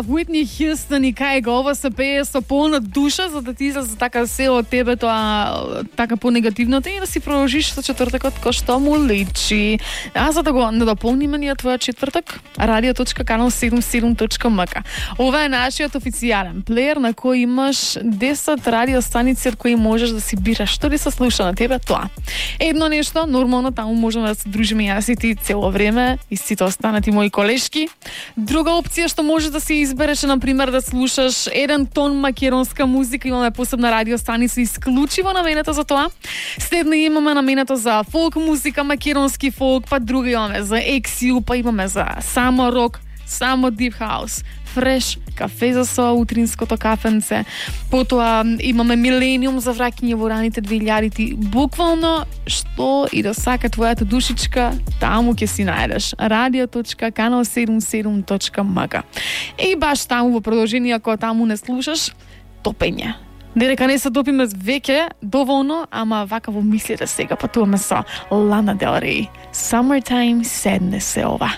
Whitney Houston и кај го ова се пее со полна душа за да ти излезе така се од тебе тоа така понегативното и да си продолжиш со четвртокот кој што му личи. А за да го надополниме ние твоја четврток, radio.canal77.mk. Ова е нашиот официјален плеер на кој имаш 10 радиостаници од кои можеш да си бираш што ли се слуша на тебе тоа. Едно нешто, нормално таму можеме да се дружиме јас и ти цело време и сите останати мои колешки. Друга опција што можеш да си избереш е, например, да слушаш еден тон македонска музика, имаме посебна радиостаница исклучиво наменета за тоа. Следно имаме наменето за фолк музика, македонски фолк, па друга имаме за ексиу, па имаме за само рок, само дип хаус, фреш, кафе за со утринското кафенце. Потоа имаме милениум за враќање во раните 2000-ти. Буквално што и да сака твојата душичка, таму ќе си најдеш. radio.canal77.mk. И баш таму во продолжение, ако таму не слушаш, топење. Додека не се топиме веќе доволно, ама вака во мислите сега патуваме со Лана Del Rey. Summertime Sadness е ова.